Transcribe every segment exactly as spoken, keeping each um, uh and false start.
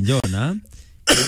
Jona,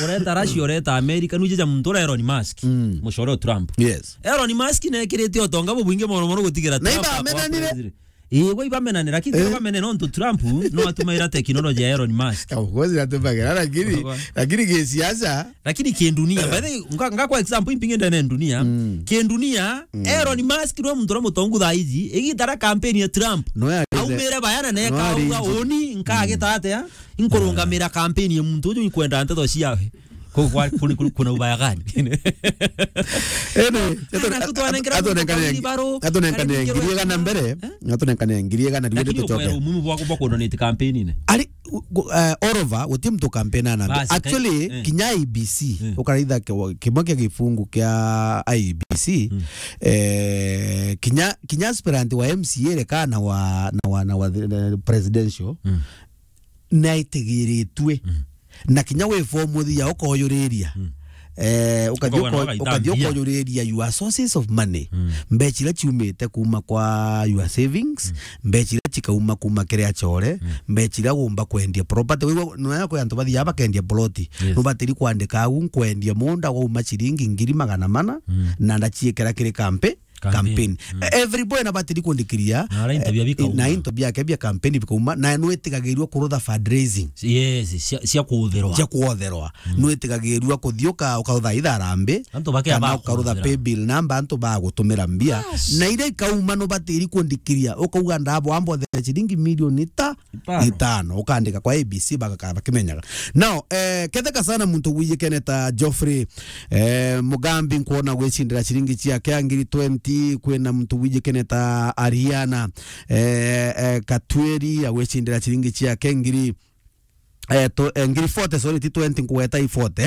ureta Russia, ureta America, nuje ja muntu ura Elon Musk, Mm. mucore o Trump. Yes. Elon Musk nekirite utonga bubwingi mono mono gutigira Na Trump iba akorwa amenanire? president. Ii, gwa ibamenanire, lakini Eh. ibamenene nontu Trump no atumaira technology ya Elon Musk. Of course, natumagira, lakini, Ogo. lakini gisiasa. Lakini kindunia, by the way, nga, nga kwa example, impingi ndene ndunia, Mm. kindunia, Mm. Elon Musk no muntu ura mutongu thaa iji, igita ra campaign ya Trump. No ya aumire bayana na no ekauga, arĩnji. Uni, nkagita atia? Inkurungamira campaign ya muntu uju, inkwenda nteto ciawe. Ku-, kwa-, kuni-, kuni-, kuna ubaya gani? Ene, Kana kutwanengera muntu atunenkane, kwa wheelbarrow, atunenkane kana ngiri igana mbere, eh? Atunenkane ngiri igana riu Lakini tucoke. Ukwera umuhimu bwa, bwa kuononate campaign-ini. Ari, gu-, eh, all over, guti muntu campaign ana. Basi, Actually, kai-, eh. kinya I B C, Eh. ukaraitha ke-, kimwe kia gifungu kia I B C, Mm. eh, kinya, kinya aspirant wa M C A reka na wa, na wa, na wa, eh, presidential, Mm. naitigiritue. Mm. Na kinya wi form uthia ukoyuriria. Mm. Eh, ukathi Ukaona uko-, wagaita ukathi mbia. Ukoyuriria your sources of money. Mm. Mbeca iria ciumite kuma kwa your savings, Mm. mbeca iria cikauma kuma kiri acore, Mm. mbeca iria umba kwendia property. Wigua, nwega kwi antu bathiaga bakendia ploti. Yes. Nubatiri kwandika au, nkwendia munda wauma ciringi ngiri magana mana, Mm. na ndaciikira kiri kampi-, Campaign. campaign. Mm. Every boy nabatiri kundikiria, Na ara into bia eh, bikauma. na into biake bia campaign bikauma, na nwitigagirua kurutha fundraising. Yes, cia, cia kuutherwa. Cia kuotherwa. Mm. Nwitigagirua kuthiuka ukarutha itharambi, Antu bake kana ba ukarutha kuuthira. Pay bill number, antu bagutumira mbia. Yes. Na iria ikauma nubatiri kundikiria, ukauga ndabo ambothere ciringi milioni ta Itano. itano, ukandika kwa A B C, bagaka-, bakimenyaga. Now, eh, ketheka sana muntu wijikene ta Geoffrey, eh, Mugambi, nkwona gwicindira ciringi ciake ngiri twenty, kwina muntu wijikene ta Ariana, eh, eh, Katweri, agwicindira ciringi ciake ngiri, eh, to, eh, ngiri forty, sorry, ti twenty, nkugweta i forty,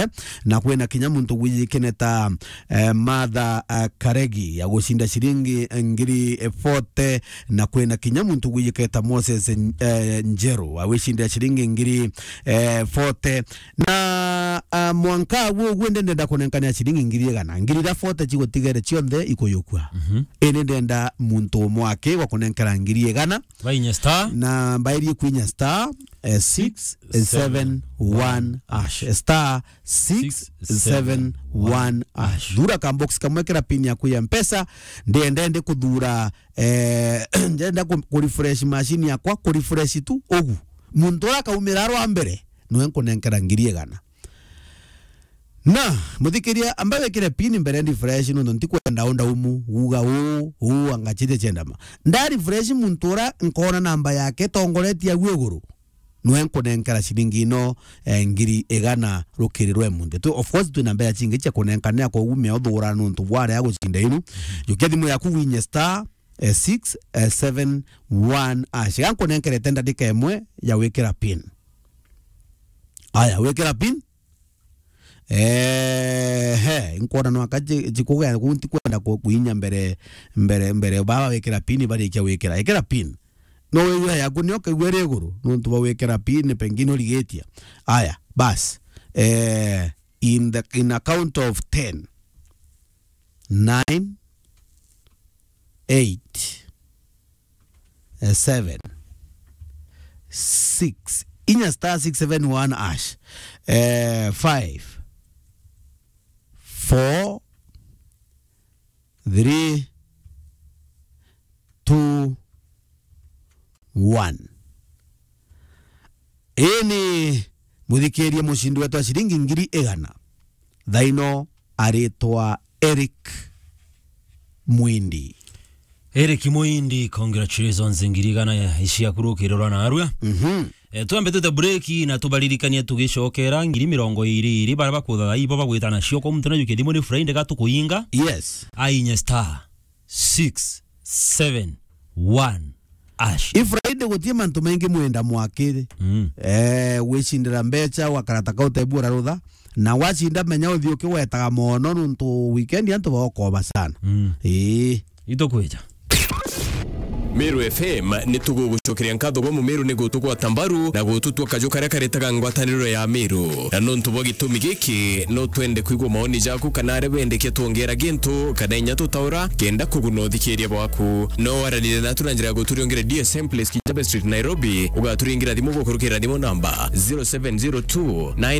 na kwina kinya muntu wijikene ta, eh, Martha, eh, Karegi, agucinda ciringi, eh, ngiri, eh, forty, na kwina kinya muntu wijiketa Moses, eh, Njeru, awicindira ciringi ngiri, eh, forty. Na, ah, mwanka agu uguo ndi ndenda kunenkania ciringi ngiri igana. Ngiri iria forty cigutigere cionthe ikuyukua. Mhm. Indi ndenda muntu umwe aki wa kunenkera ngiri igana. Bainya star. Na mbairie kwinya star, eh, six seven one hash. Star six seven one hash. Thura ka box kamwe, kira pin yaku ya Mpesa. Ndienda ndi kuthura, eh, ndienda ku, ku refresh machine yakwa, ku refresh tu ugu. Muntu uria akaumira rwa mbere, niwe nkunenkera ngiri igana. Na, muthikiria, amba wikire pin mbere ndi fresh, nontu ntikwenda unda umu, uga uu, uu, anga chite chendama. Nda refresh muntu uria nkona namba yake tongoretie au iguru. Nwe nkunenkera ciringi ino, eh, ngiri igana rukiri rwe munthi. Tu, of course, twina mbeca cingi cia kunenkanira, koguo mea uthugura nontu bwarea gucinda inu. Jukia thimu yaku winye star, eh, six seven one hash. Ga nkunenkerete ndagika imwe ya wikira pin. Aya, wikira pin. Ehe, nkwona no aka ji-, jikuga kunti kwenda ku-, kuinya mbere, mbere, mbere. Baba wikira pin, barikia wikira. Ikira pin. No wigua yaku nio kaigua iri iguru, nontu bwa gwikira pin, pengine urigitia. Aya, bas. Eh, in the, in a count of ten. Nine, eight, eh, seven, six. Inya star six seven one hash. Eh, five, four, three, two, one. Ii ni muthikiria mucindi wetu wa ciringi ngiri igana. Thaino aritwa Eric Mwindi. Eric Mwindi, congratulations, ngiri igana ya, iciaku rukiri rwa narua. Mhm. Eh, twambe tute break na tubaririkanie tugicokera ngiri mirongo iri iri bara bakutha ibo bagwita nacio kwa muntu najukia thimu ni Friday ga tukuinga. Yes. Ainye star six seven one hash. I Friday gutie mantu maingi mwenda mwakire. Mm. Eh, gwicindira mbeca, wakarata ka utebu urarutha. Na wacinda menya uthi ukiwetaga mono nuntu weekend antu baokoba sana. Mm. Ii. Itukwija. Meru F M ni tugugucokeria nkatho gwa Mumeru ni gutugwata mbaru na gututua kaju karia karetaga ngwataniro ya Meru. Na nontu bwa gitumi giki, no twende kwigua maoni jaku kana aria bendekia twongera gintu kana inya tutaura kenda kuguna uthikiria bwaku. No waranire natu na njira ya guturiongera D S M Place, Kijabe Street, Nairobi. Ugaturingira thimu gukurukira thimu namba zero seven zero two nine